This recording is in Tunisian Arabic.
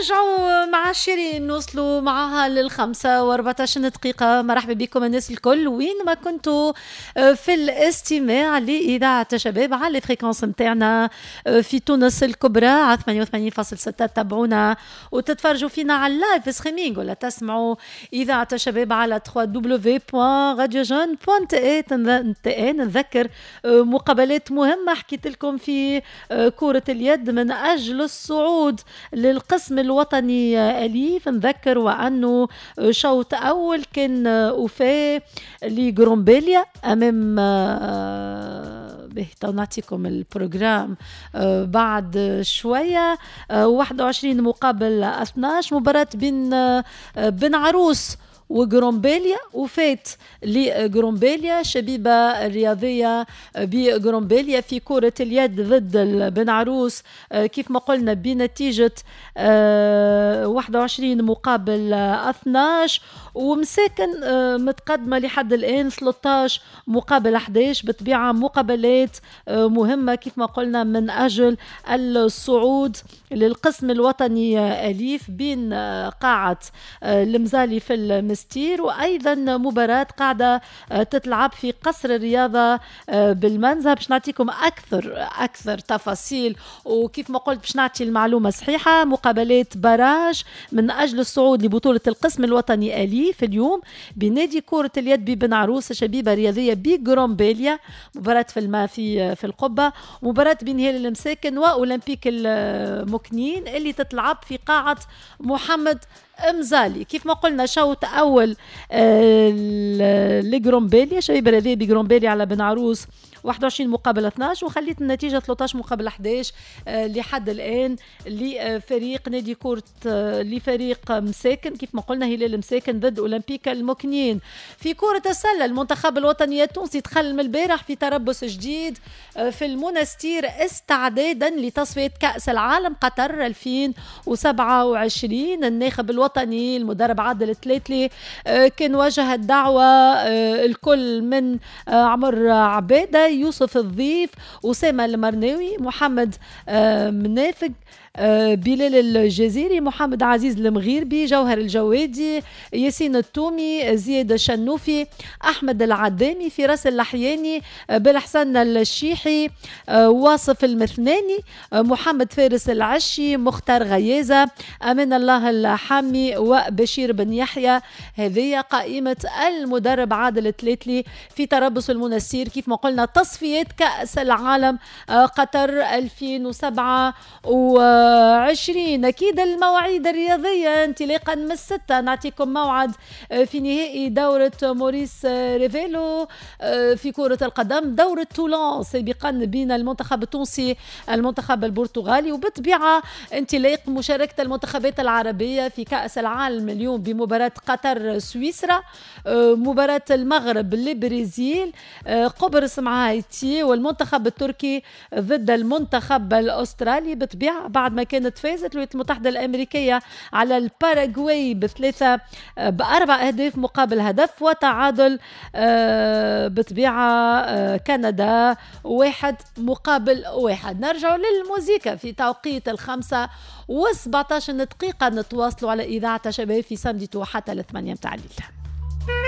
نرجعوا مع شيرين، نوصلوا معها لل5:14. مرحبا بكم الناس الكل وين ما كنتوا في الاستماع لإذاعة شباب على ال fréquences نتاعنا في تونس الكبرى على 88.6. تابعونا وتتفرجوا فينا على ال live streaming ولا تسمعوا إذاعة شباب على www.radiojeune.tn. نذكر مقابلات مهمة حكيت لكم في كرة اليد من أجل الصعود للقسم الوطني أليف. نذكر وأنه شوط أول كان وفاء لغرومبيليا أمام به، نعطيكم ال programme بعد شوية. 21 مقابل 12، مباراة بين بن عروس وغرومبيليا وفات لغرومبيليا. شبيبة الرياضية بغرومبيليا في كرة اليد ضد بن عروس كيف ما قلنا بنتيجة 21 مقابل 12، ومساكن متقدمة لحد الآن 13 مقابل 11. بطبيعة مقابلات مهمة كيف ما قلنا من أجل الصعود للقسم الوطني أليف بين قاعة المزالي في المستير، وأيضا مباراة قاعدة تتلعب في قصر الرياضة بالمنزه. باش نعطيكم أكثر تفاصيل، وكيف ما قلت باش نعطي المعلومة صحيحة. مقابلات barrage من أجل الصعود لبطولة القسم الوطني أليف اليوم بنادي كرة اليد ببن عروس، شبيبة رياضية بغرومبيليا، مباراة في الماء في القبة، مباراة بين هلال المساكن وأولمبيك المكنين اللي تتلعب في قاعة محمد مزالي. كيف ما قلنا شوط أول لغرومبيليا، شبيبة رياضية بغرومبيليا على بن عروس 21 مقابل 12، وخليت النتيجة 13 مقابل 11 لحد الآن لفريق نادي كرة لفريق مساكن. كيف ما قلنا هلال مساكن ضد أولمبيك المكنين. في كرة السلة المنتخب الوطني التونسي دخل من البارح في تربص جديد في المنستير استعدادا لتصفية كأس العالم قطر 2027. الناخب الوطني المدرب عادل التلاتلي كان وجه الدعوة الكل من عمر عبادة، يوسف الضيف، أسامة المرناوي، محمد منافق، بلال الجزيري، محمد عزيز المغيربي، جوهر الجوادي، ياسين التومي، زياد الشنوفي، أحمد العدامي، فراس اللحياني، بالحسن الشيحي، واصف المثناني، محمد فارس العشي، مختار غيازة، أمان الله الحامي، وبشير بن يحيى. هذه قائمة المدرب عادل التلاتلي في تربص المنستير كيف ما قلنا تصفيات كأس العالم قطر 2027. أكيد المواعيد الرياضية انطلاقا من 6 نعطيكم موعد في نهائي دورة موريس ريفيلو في كرة القدم، دورة تولون سابقا بين المنتخب التونسي المنتخب البرتغالي، وبالطبيعة انطلاق مشاركة المنتخبات العربية في كأس العالم اليوم بمباراة قطر سويسرا، مباراة المغرب البرازيل، قبرص مع هايتي، والمنتخب التركي ضد المنتخب الأسترالي. بالطبيعة بعد ما كانت فازت الولايات المتحدة الأمريكية على الباراغواي ب4 أهداف مقابل هدف، وتعادل بطبيعة كندا 1-1. نرجع للموزيكا في توقيت 5:17، نتواصلوا على إذاعة شباب في samedi tout حتى 8 متاع الليل.